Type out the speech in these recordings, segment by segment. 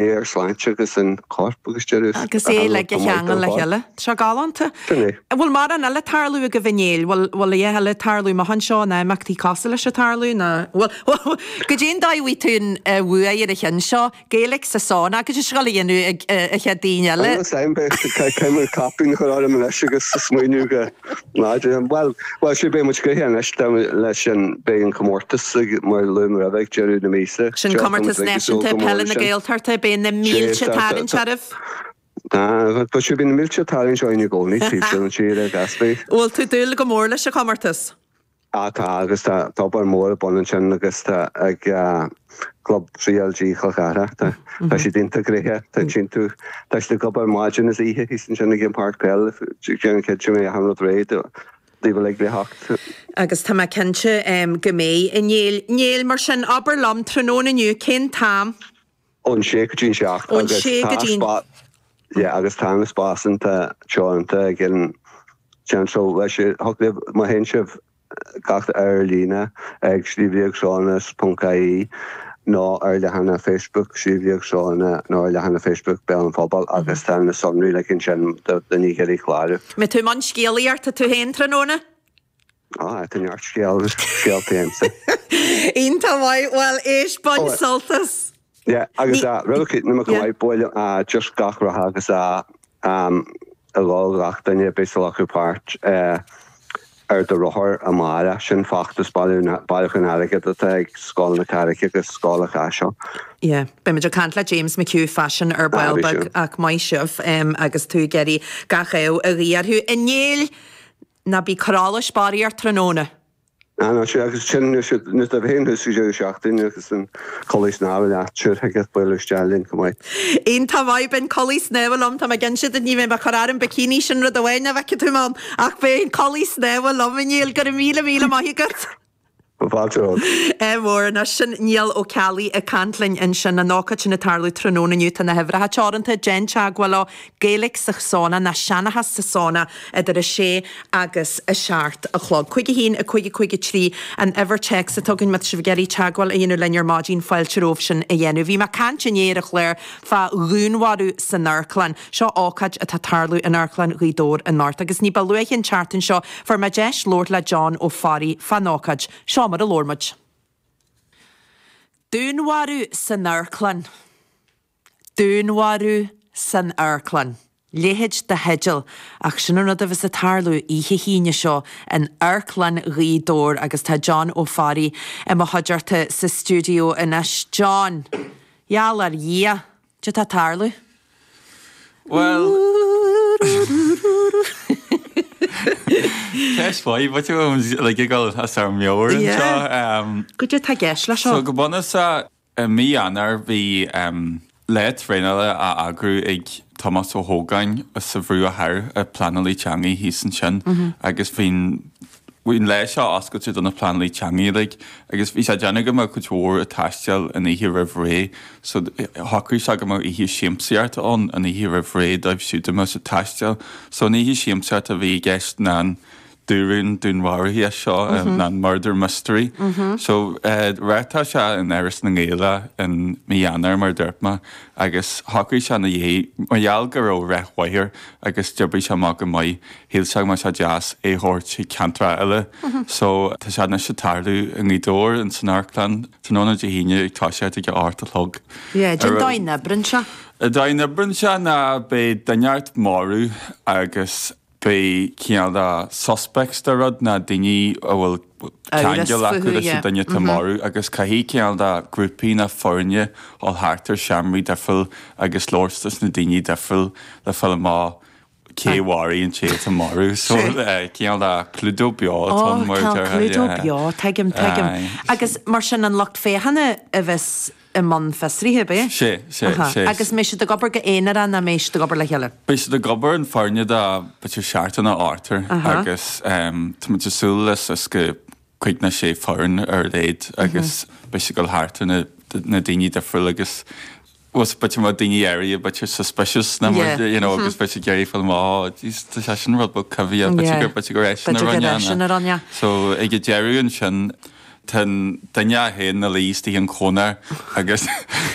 Ar sláinte agus an corp agus deireadh. Agus é uilig a cheangal le chéile. Tá sé galánta. Sin é. An bhfuil mórán eile ag tarlú agaibh a Néill? Bhfuil bhfuil a dhath eile ag tarlú amach anseo nó imeachtaí cosúil leis ag tarlú nó bhfuil goidé an dóigh a bhfaighidh tú an bhuaidh ar an cheann seo? Gaeilge sa sauna agus is gá a dhéanamh ag an chéad daoine eile. Níl a fhios agam beidh mé caipín a chur orm anois agus smaoineamh go láidir. Bhuel, bhuel, sea, beidh muid gnoitheach anois leis an, beidh an comórtas ag, mar a luaigh mé roimhe, ag deireadh na míosa. Sin comórtas náisiúnta peile na Gaeltachta, beidh na mílte ag tarraingt oraibh. Tá, tá sé, beidh na mílte ag tarraingt orainn i gcónaí, taobh sin an tír ag Gaspé. Bhfuil tú ag dúil go mór leis an chomórtas? Ah tá, agus tá obair mhór ar bun ansin agus tá ag Club CLG Chol Cartha, tá tá siad iontach gnoitheach, tá tiontú, tá siad ag obair maidin is oíche thíos ansin ag an páirc peile, déanamh cinnte go mbeidh achan rud réidh daoibh uilig le theacht. Agus tá mé cinnte go mbeidh, a Néill. Néill, mar sin, abair liom, tráthnóna inniu, cén t-am? Ón sé go dtí an 7 Ón agus sé go tá dtí an. spá yeah agus tá na spásanna teoranta ag an ceann so leis thug libh má théann sibh gach ar líne ag sliabhliagshónas.ie nó ar leathanach Facebook Sliabh Liag Sróna nó ar leathanach Facebook Béal an Phobail agus tá na sonraí like ansin do daoine ag iarraidh clárú. Mbeidh tú i mbun scéalaíochta tú féin tráthnóna? Ah, tá neart scéal, scéalta agamsa. Iontach maith, bhuel éist, bain sult as. Yeah, agus ah, roimh a na go maith, buaile ah, just gach rath agus ah, um, a dhul gach duine a bheas ag glacadh páirt eh, ar do rothar amárach, sin feachtas bailiúchán airgid atá ag Scoil na Carraice agus Scoil an Chaisil. Yeah, beimid ag caint le James McHugh fá sin ar ball Ah, beag ach maith sibh um, agus tú ag iarraidh gach ádh a ghuí orthu. A Néill! Ná bí ag cur allais barraíocht tráthnóna. Ah no, sea, agus sin, nuair atá féin thuas ag deireadh seachtaine agus an culaith snámha leat, sure, thig leat bualadh isteach linn chomh maith. Iontach maith, beidh an culaith snámha liom, tá mé ag inse duit, ní bheidh mé ag cur orm bikini, sin rud amháin nach bhfeicfidh tú mé ann, ach beidh an culaith snámha liom, a Néill, go raibh míle míle maith agat. Fáilte romhat. Ádh mór anois. Sin Niall Ó Ceallaigh ag caint linn ansin. An ócáid sin ag tarlú tráthnóna inniu. Tá na huimhreacha teoranta. Déan teagmháil leo. Gaeilge sa Sauna nó Seanchas sa Sauna idir 6 agus 7 a chlog. 5 1 5 5 3 an uimhir téacs atá againn má tá sibh ag iarraidh teagmháil a dhéanamh linn ar maidin fáilte romhaibh sin a dhéanamh. Bhí mé ag caint inné ar an chlár fá dhúnmharú san amharclann. Seo ócáid atá ag tarlú in Amharclann Ghaoth Dobhair anocht agus ní ba luaithe an tseachtain seo fuair mé deis labhairt le John Ó Fearraigh fán ócáid. Seo mar a labhair muid. Dúnmharú san amharclann. Dúnmharú san amharclann. Leithéid de theideal, ach sin an rud a bheas ag tarlú oíche hAoine seo in Amharclann Ghaoth Dobhair agus tá John Ó Fearraigh i mo chuideachta sa stiúideo anois. John, gheall ar Dhia, Cad tá ag tarlú? Bhuel, ceist mhaith, but like ag dul as ár meabhair anseo. Goidé atá i gceist leis seo? So go bunúsach, i mí Eanáir bhí lá traenála á eagrú ag Tomás Ó hÓgáin as an Bhruach Thoir, an pleanálaí teanga thíos ansin, agus bhí an Bhí an lá seo oscailte do na pleanálaí teanga uilig agus bhí sé ag déanamh go mbeadh cuid mhór ag taisteal an oíche roimh ré so shocraigh sé go mbeadh oíche siamsaíochta ann an oíche roimh ré dóibh siúd a mbeadh ag taisteal. So an oíche siamsaíochta a bhí i gceist ná an dúrún dúnmharuithe seo ná an murder mystery. So reáchtáil sé in Áras na nGael in mí Eanáir mar a dúirt mé agus shocraigh sé ina dhiaidh mar gheall go raibh rath mhaith air agus d'oibrigh sé amach go maith Shíl sé go mbeadh sé deas é a thabhairt chuig ceantracha eile. So, tá sé anois ag tarlú i nGaoth Dobhair, ins an amharclann, tráthnóna Dé hAoine ag toiseacht ag a 8 a chlog. Yeah, cén dóigh a n-oibríonn sé? An dóigh a n-oibríonn sé ná beidh duine inteacht marbh agus beidh cineál de suspects de rud ná daoine a bhfuil ceangal acu leis an duine atá marbh agus caithfidh cineál de grúpaí ná foirne dhul thart ar seomraí difriúil agus labhairt leis na daoine difriúil le fáil amach cé a mharaigh an té atá marbh. So cineál de Cluedo beo atá ann mar a déarfá. Cluedo beo, tuigim, tuigim. Agus mar sin an lucht féachana a bheas i mbun fiosraithe, ab é? Sé, sé, sé. Agus mbeidh siad ag obair go haonarach nó mbeidh siad ag obair le chéile? Beidh siad ag obair in foirne de b'fhéidir seachtar nó ochtar agus tá muid ag súil le suas go cúig nó sé foireann ar a laghad agus beidh siad ag dul thart ar na daoine difriúil agus bhuel b'fhéidir má daoine áirithe b'fhéidir suspicious nó mar you know agus beidh siad ag iarraidh fáil amach oh jeez tá sé sin rud beag coimhthíoch b'fhéidir gur b'fhéidir gur eisean a rinne é. B'fhéidir gur eisean a rinne. So ag an deireadh ansin. Tá an duine é féin ina luí istigh an chónair agus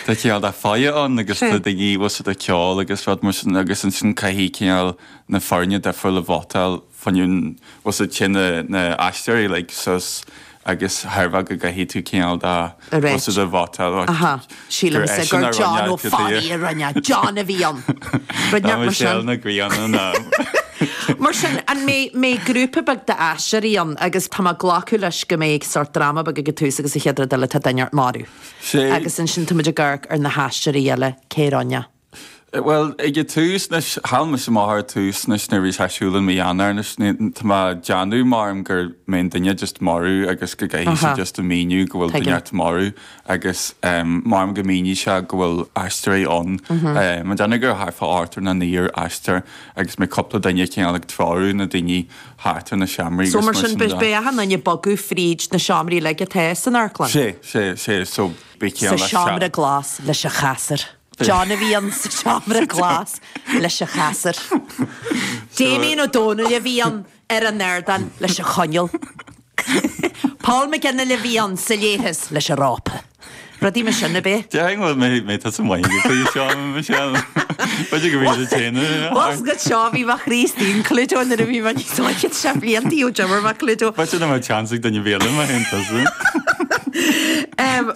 tá cineál de fáinne ann agus tá daoine bhfuil siad ag ceol agus rud mar sin agus ansin caithfidh cineál na foirne difriúla vótáil fá choinne bhfuil siad téann na na aisteoirí like suas agus tairbhe go gcaithfidh tú cineál de A bhfuil siad ag vótáil Aha, gur sílimse eisean gur a John rinne Ó Fearraigh a rinne, John a bhí ann. Rud Ná mar Michelle sin. na Grianna ná. Mar sin, an mbeidh, mbeidh grúpa beag d'aisteoirí ann agus tá mé ag glacadh leis go mbeidh sórt dráma beag ag an tús agus an chéad rud eile tá duine inteacht marbh. Sé. Agus ansin tá muid ag amharc ar na haisteoirí eile, cé a rinne. Bhuel, ag an tús anois, chaill mise amach ar an tús anois nuair a bhí sé ar siúl i mí Eanáir anois, tá mé ag déanamh maram go mbeidh an duine just marbh agus go gcaithfidh sé just a míniú go bhfuil duine inteacht marbh agus maram go míneoidh sé go bhfuil aisteoirí ann. Mé ag déanamh gur thart fá ochtar nó naonúr aisteoir agus mbeidh cúpla duine cineál ag treorú na daoine thart ar na seomraí So agus mar mar sin sin de. beidh achan duine ag bogadh fríd na seomraí uilig atá san amharclann? Sé, sé, sé, so beidh Sa cineál le seomra glas leis an chasúr. John a bhí ann sa seomra glas leis an chasúr. Damien Ó Dónaill a bhí ann ar an ardán leis an choinneal. Paul McGinley a bhí ann sa leithreas leis an rópa. Rudaí mar sin, ab é? Déarfainn go bhfuil mé tusa maith ag an seo, Michelle. B'fhéidir go bhfuil sé téanamh. Bhuel, go seo bhí mo chroí istigh in Cluedo nuair a bhí mé níos óige, sé blianta ó d'imir mé Cluedo. B'fhéidir nach mbeadh chance ag duine ar bith eile má théann tusa.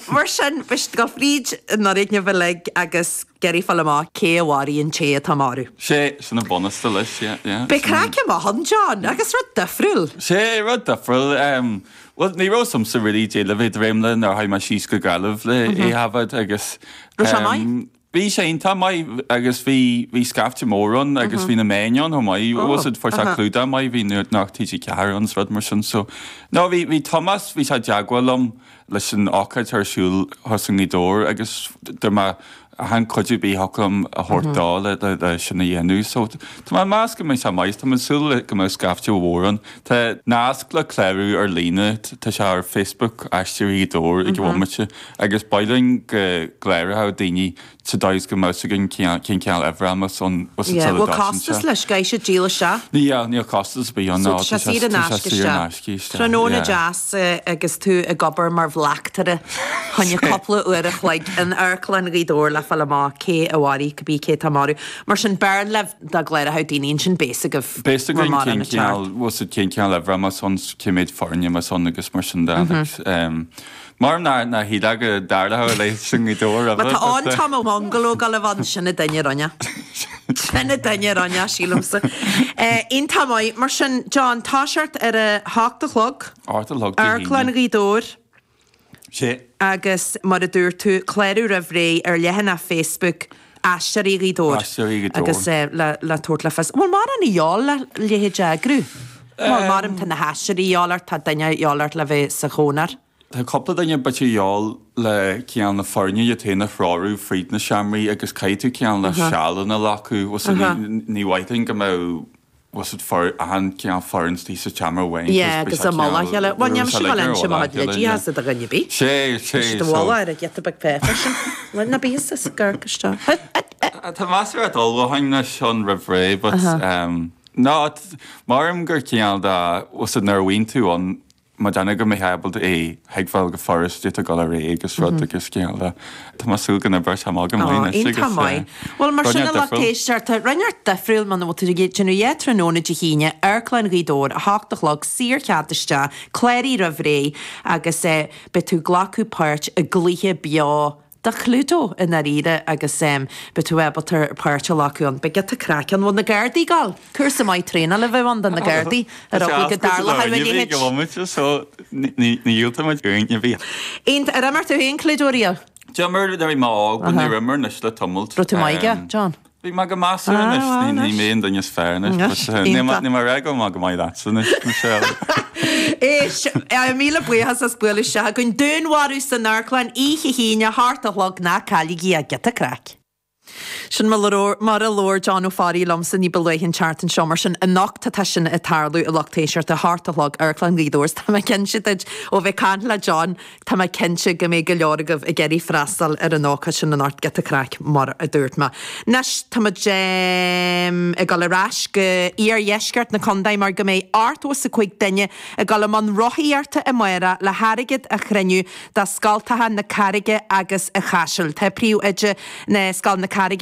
Mar sin, beidh siad ag dul fríd an fhoirgneamh uilig agus ag iarraidh fáil amach cé a mharaigh an té atá marbh. Sé, sin an bunús leis, yeah, yeah. Beidh craic amach ann, John, agus rud difriúil. Sé, rud difriúil. Bhuel, ní raibh 'fhios a'msa really caidé le bheith ag dréim le nuair a tháinig mé síos go Gaillimh le é a thaifead agus. Raibh sé maith? Bhí sé iontach maith agus bhí, bhí scaifte mór ann agus bhí na meáin ann chomh maith, bhfuil 'fhios a'd, fuair sé clúdach maith, bhí Nuacht TG4 ann is rud mar sin so. No, bhí, bhí Tomás, bhí sé i dteagmháil liom leis an ócáid ar siúl thuas i nGaoth Dobhair agus dúirt mé achan cuidiú ar bith a thiocfadh liom a thabhairt dó le, le, le sin a dhéanamh so tá mé ag meas go mbeidh sé maith, tá mé ag súil le go mbeidh scaifte mhór ann. Tá nasc le clárú ar líne, tá sé ar Facebook Aisteoirí Ghaoth Dobhair ag an bhomaite. Agus ba mhaith linn go gcláródh daoine sa dóigh is go mbeadh 'fhios againn cén cineál uimhir a bheas ann Yeah, sula bhfuil dtosaíonn costas sé. leis? Caithfidh siad díol isteach? Níl, níl costas ar bith ann, So no, tá tá sé sé saor in tá sé aisce saor in isteach. aisce isteach, Tráthnóna yeah. deas agus tú ag obair mar bhleachtaire choinne cúpla uair a chloig in Amharclann Ghaoth Dobhair le fáil amach cé a mharaigh, cibé cé atá marbh. Mar sin, b'fhearr libh dá gcláródh daoine ansin beidh 'fhios agaibh Beidh 'fhios bhfuil againn mórán cén ag teacht. cineál, bhfuil 'fhios a'd cén cineál uimhir a bheas ann, cé mhéad foirne a bheas ann agus mar sin de, like, Mar ná ná shílfeá go dtarlódh a leithéid sin i nGaoth Dobhair Má roimhe tá but an Tom Bungalow ag dul a bheith ann, sin an duine a rinne. Sin an duine a rinne, sílimse. Iontach maith. Mar sin, John, toiseacht ar a hocht a chlog. 8 a chlog Dé Amharclann hAoine. Ghaoth Dobhair. Sé. Agus mar a dúirt tú, clárú roimh ré ar leathanach Facebook Aisteoirí Ghaoth Dobhair. Aisteoirí Ghaoth Dobhair. Agus le le tabhairt le fios. Bhfuil mórán a dhíobháil le leithéid a eagrú? Bhuel, maram tá na haisteoirí a dhíobháil ort, tá duine a dhíobháil ort le bheith sa chónair. Tá cúpla duine bit a dhíobháil le cineál na foirne iad féin a threorú fríd na seomraí agus caithfidh tú cineál na sealanna a ghlacadh, bhfuil 's a'd, ní mhaith linn go mbeadh, bhfuil 's a'd, for, achan cineál foireann istigh sa tseomra amháin Yeah, agus i mullach a chéile. Bhuel, níl mise ag dul inse mo chuid leidí as do dhuine ar bith. Sé, sé, Tá siad i so. bhfolach ar an ghiota beag páipéir sin. Bhuel, ná bíodh sa gcorc isteach. Tá meas ar dul mhaith anois ann roimh ré, but, no, maram gur cineál de, bhfuil 's a'd, nuair a bhíonn tú ann, Má déanamh go mbeidh ábalta é thuigbheáil go furast duit a dhul ar aghaidh agus rud agus cineál de tá mé ag súil go n-oibreoidh sé amach go maith Ó, anois iontach agus maith. Bhuel, mar rud sin a inteacht lucht difriúil. éisteachta, rud inteacht difriúil muna bhfuil tú ag déanamh yeah tráthnóna Dé hAoine, Amharclann Ghaoth Dobhair, 8 a chlog, saorchead isteach, cláraigh roimh ré agus beidh tú ag glacadh páirt i gcluiche beo de Chlúdo i ndáiríre agus beidh tú ábalta páirt a ghlacadh ann. Beidh giota craic ann. Bhfuil na Gardaí ag gabháil? Cúrsa maith traenála a bheadh ann do na Gardaí ar eagla go dtarlódh a leithéid. Go bhfuil so ní dhiúltaímid éinne a bhí. Aon, ar imir tú féin Cluedo riamh? D'imir nuair a bhí mé óg, but níor imir anois le tamalt. Raibh tú maith aige, John? Bhí mé go measartha anois, Ah, ní mé an duine is fearr anois, but níl mé níl mé ag rá go bhfuil mé go maith leatsa anois, Michelle. Éist, míle buíochas as bualadh isteach chugainn. Dúnmharú san Amharclann oíche hAoine, 8 a chlog, ná cailligí é, giota craic. Sin mar a labhair John Ó Fearraigh liomsa ní ba luaithe an tseachtain seo, mar sin anocht atá sin ag tarlú a lucht éisteachta, a hocht a chlog, Amharclann Ghaoth Dobhair. Tá mé cinnte duit, ó bheith caint le John, tá mé cinnte go mbeidh go leor agaibh ag iarraidh freastal ar an ócáid sin anocht, giota craic mar a dúirt mé. Anois tá muid ag dul ar ais go iardheisceart na contae mar go mbeidh 85 duine ag dul i mbun rothaíochta amárach le hairgead a chruinniú do scoltacha na Carraige agus an Chaisil. Tá príomhoide na Scoil na Carraige.